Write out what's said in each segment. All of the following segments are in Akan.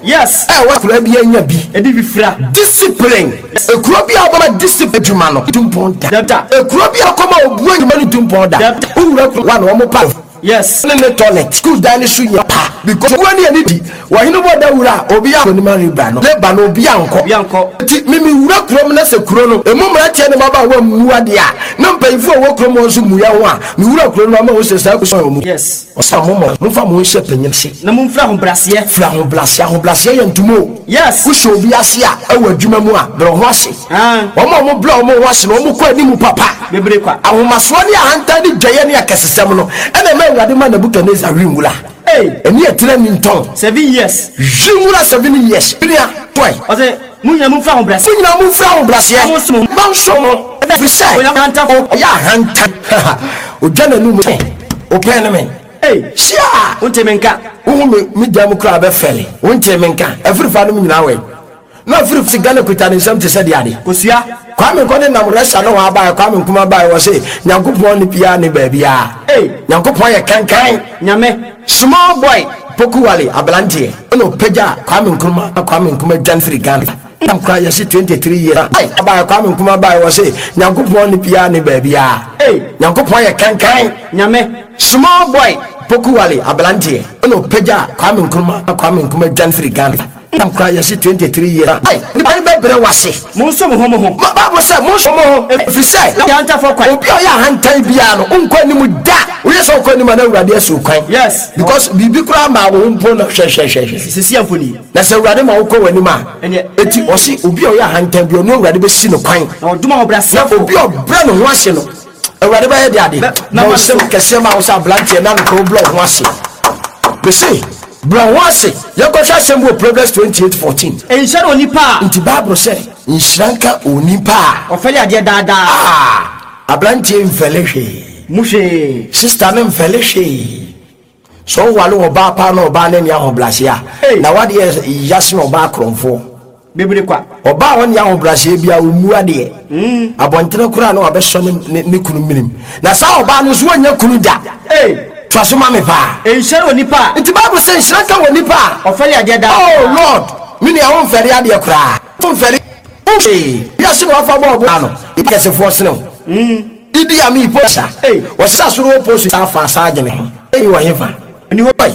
Yes. Ɛwɔ akura bi anya bi. Ɛdi bi fira. Discipline. Ekuro bi a ɔbɛma discipline adwuma no tu mpɔn da. Da. Ekuro bi a ɔkɔma obuo adwuma no tu mpɔn da. Da. Wowura kuro wa na wɔn pa. Yes. Ne toilet school dan ne so yɛ pa because owó ne yɛ ne di wɔhene bɔ da wura a obi akɔ ne ma reba no leba no obi ankɔ. Obi ankɔ. Nti mimi wura kurom na sɛ kuro no emu mmeranteɛ ne mmabaawa mmu adeɛ a, na mpanyinfoɔ a wɔwɔ kurom hɔ nso mmu yɛn ho a, me wura kuro no ama wɔn sɛ saa kuro wɔn mu. Yes. Ɔsɛ mo mɔ momfa mo ho nhyɛ panyin ase. Na momfiri ahobrɛaseɛ. Firi ahobrɛaseɛ. Ahobrɛaseɛ yɛ ntoma o. Yes. Wohyɛ obi ase a ɛwɔ adwuma mu a, brɛ wo ho ase. Ah. Wɔn a wɔbrɛ wɔn ho ase no, wɔkɔ anim papa. Bebree kwa. Ahomasoɔ ne ahantan ne dwaeɛ ne akɛsesɛm no ɛna ɛma Awurade ma Nebukadnesar wi nwura. Hey. Ɛne ɛtena ni ntɔn. 7 years. Wi nwura 7 years. Bia toy. Ɔsɛ mo nyinaa momfiri ahobrɛaseɛ. Mo nyinaa momfiri ahobrɛaseɛ. Na monsom. Monsom mo. Ɛfiri sɛ Ɔyɛ ahantanfoɔ. Ɔyɛ ahantan. Ɔdwa n'anum sɛ ɔpɛn ne me. Hey. Hyia. Wonte me nka. Wohu me me dan mu koraa bɛfɛle. Wonte me nka. Afirifa no mu nyinaa wɛ. Na afiri si Ghana kuta ne nsam te sɛ deɛ ade. Kosua. Kwame Nkɔ ne nam Russia ne hɔ abaeɛ, Kwame Nkrumah baeɛ, wɔ se Nyankopɔn ne biara ne baabiara. Hey. Nyankopɔn yɛ kankan. Nyame. Small boy Poku Wale aberanteɛ ɛna ɔpagya Kwame Nkrumah na Kwame Nkrumah dwan firi Ghana. Nam koraa yɛse 23 years. Hey. Abaeɛ, Kwame Nkrumah baeɛ, wɔ se Nyankopɔn ne biara ne baabiara. Hey. Nyankopɔn yɛ kankan. Nyame. Small boy Poku Wale aberanteɛ ɛna ɔpagya Kwame Nkrumah na Kwame Nkrumah dwan firi Ghana. Nam koraa yɛse 23 years. Hey. Nipa no bɛbrɛ wase. Monsom ho mo ho. Bible sɛ monsom mo ho ɛfiri sɛ Na ahantanfoɔ kwan. Obi a ɔyɛ ahantan biara no wonkɔ anim da. Woyɛ sɛ wokɔ anim a na Awurade asi wo kwan. Yes. Because biribi koraa maa wo ho mpo na hwɛhwɛhwɛhwɛ. Sisi mfoni. Na sɛ Awurade ma wokɔ w'anim a Ɛneɛ. eti ɔse obi a ɔyɛ ahantan bi ɔno Awurade bɛsi no kwan. Na ɔdom Na ahobrɛaseɛfoɔ. obi a ɔbrɛ ne ho ase no Awurade bɛyɛ de ade. Na na ma ɔsɛm no so. Kɛseɛ ma wo sɛ aberanteɛ na nokora wobrɛ wo ho ase. Mese brɛ wo ho ase. Yɛnkɔhwɛ asɛm bi wɔ Proverbs 28:14. Nhyira ne onipa a Nti Bible sɛ nhyira nka onipa a ɔfɛre adeɛ daadaa. Ah, aberanteɛ mfɛle hwee. Mu hwee. Sister no mfɛle hwee. Sɛ wowale ɔbaa paa na ɔbaa no ani ahobrɛaseɛ a Hey. na wadeɛ yase na ɔbaa korɔmfoɔ. Bebree kwa. Ɔbaa a ɔne ahobrɛaseɛ bia ɔmmu adeɛ abɔntene koraa na wabɛsɔ ne kunu menim na saa ɔbaa no nso wɔnyɛ kunu da. Hey. Toa so ma me paa. Nhyira ne onipa a Nti Bible sɛ nhyira nka wɔ nipa a ɔfɛre adeɛ daadaa. Oh Lord, me nua, womfɛre adeɛ koraa, womfɛre hwee. Wiase na wafa bɔɔbo ano kɛsefoɔ sene wo. Idi Amin po sa. Hey. Wɔsesa soro wɔ post saa fa saa adwene ho ɛyi wɔ hefa? Ɛni hɔ. Oi.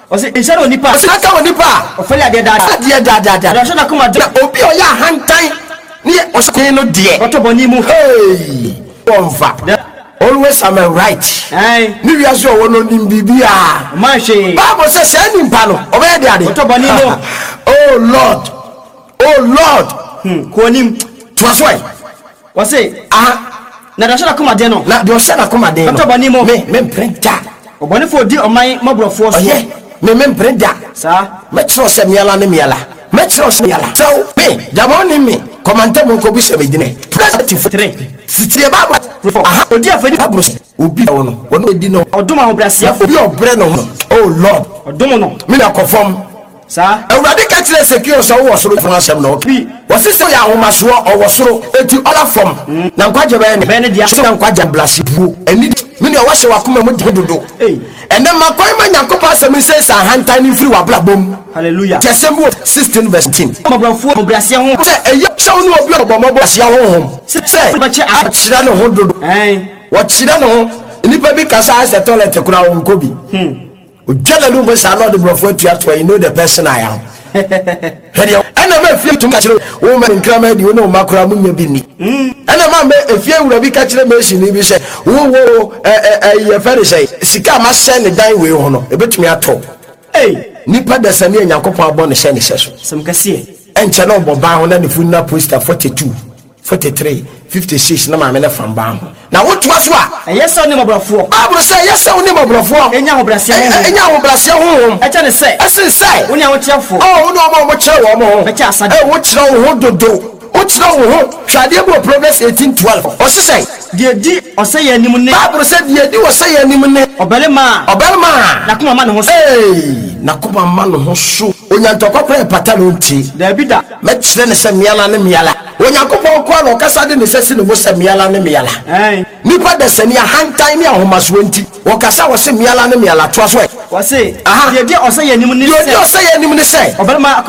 Ɔsɛ nhyira ne onipa a Ɔsɛ nka wɔ nipa a ɔfɛre adeɛ daadaa. Adeɛ daadaadaa. Na ɔhyɛ n'akoma den. Na obi a ɔyɛ ahantan ne yɛ ɔhyɛ no deɛ ɔtɔ bɔne mu. Hey, wɔmfa always am a right. Ɛn. Ne wiase ɔwɔ no nim biribiaa. Ɔma hwee. Bible sɛ saa nipa no ɔbɛyɛ de ade. Ɔtɔ bɔne mu. Oh Lord, oh Lord. Kɔ anim. Toa so ɛ. Wɔse Aha. na deɛ ɔhyɛ n'akoma den no Na deɛ ɔhyɛ n'akoma den no ɔtɔ bɔne mu. Me mempere da. Ɔbɔnefoɔ di ɔman mmɔborɔfoɔ so. Ɔyɛ me mempere da. Saa. Mɛkyerɛw sɛ miala ne miala, mɛkyerɛw sɛ miala sɛw me gyama ne me kɔmantam nkɔbu sɛ megyinɛ Three. Sitie Bible. Four. Aha. Odi afɛdi. Bible sɛ obi a wɔ no wɔne ɔdi no Ɔdom ahobrɛaseɛfoɔ. Obi a ɔbrɛ ne ho, oh Lord. Ɔdom no. Me na kɔ fam. Saa. Awurade ka kyerɛ Ezekiel sɛ wowɔ soro fo asɛm na ɔka. Bi. Wɔse sɛ ɔyɛ ahomasoɔ ɔwɔ soro enti ɔla fam na nkwagye bɛyɛ ne Bɛyɛ ne dea. Sɛ nkwagye blase buo ɛni me nua wahyɛ wakoma mu de dodo. Ei. Ɛnɛ ma kwan ma Nyankopɔn asɛm nsɛ sɛ ahantan ne mfiri w'abrabɔ mu. Hallelujah. Kyɛ sɛm bi wɔ 16 verse 10. Mmɔborɔfoɔ ahobrɛaseɛ ho. Sɛ ɛyɛ sɛ wo ne obi a ɔbɔ mmɔbɔ aseɛ honhom sɛ Bɛkyɛ a ɔkyerɛ ne ho dodo. Ɛn. Wɔkyerɛ ne ho. Nnipa bi kasa ayɛ sɛ toilet koraa wɔnkɔ bi. Ogya n'anum mu saa na ɔde borɔfo atuatua, you know the person I am. Hwɛ deɛ ɛna ma efie tumi ka kyerɛ wo ma nkraman di wo ne wo mma koraa mo nya bi ni. Ɛna ma mɛ efie wura bi ka kyerɛ masoni bi sɛ wo wo ɛ ɛ ɛ yɛfɛ ne sɛ sika a masɛ ne dan wei ho no ebetumi atɔ. Ei. Nipa dasani a Nyankopɔn abɔ ne hyɛ ne hyɛ so. Sɛm kɛseɛ. Ɛnkyɛ na ɔbɔ ban ho na ne funu na poster 42, 43, 56 na maame ne fam ban ho. Na wotoa so a. Ɛyɛ sɛ wo ne mmɔborɔfoɔ. Bible sɛ ɛyɛ sɛ wo ne mmɔborɔfoɔ. Ɛnya ahobrɛaseɛ honhom. Ɛnya ahobrɛaseɛ honhom. Ɛkyɛ ne sɛ. Ɛsen sɛ. Wo ne ahokyerɛfoɔ. Ɔ wo ne wɔn a wɔkyerɛ wɔn ho. Bɛkyɛ asade. Ɛ wokyerɛ wo ho dodo. Wokyerɛ wo ho. Hwɛ adeɛ bi wɔ Proverbs 18:12. Ɔse sɛ. Deɛ di ɔsɛeɛ anim ne. Bible sɛ deɛ di ɔsɛeɛ anim ne. Ɔbarima a. Ɔbarima a. N'akoma ma ne ho so. Ee, n'akoma ma ne ho so. Onyantɔkwa koraa ɛpata no nti. Daabi da. Mɛkyerɛ ne sɛ miala ne miala. Onyankopɔn nko ara na ɔkasa de ne nsa si ne bo sɛ miala ne miala. Ɛn. Nipa dasani ahantan ne ahomasoɔ nti wɔkasa wɔ se miala ne miala. Toa so ɛ. Wɔse Aha. deɛ di ɔsɛeɛ anim ne Deɛ ɔdi sɛ. ɔsɛeɛ anim ne sɛ. Ɔbarima akoma.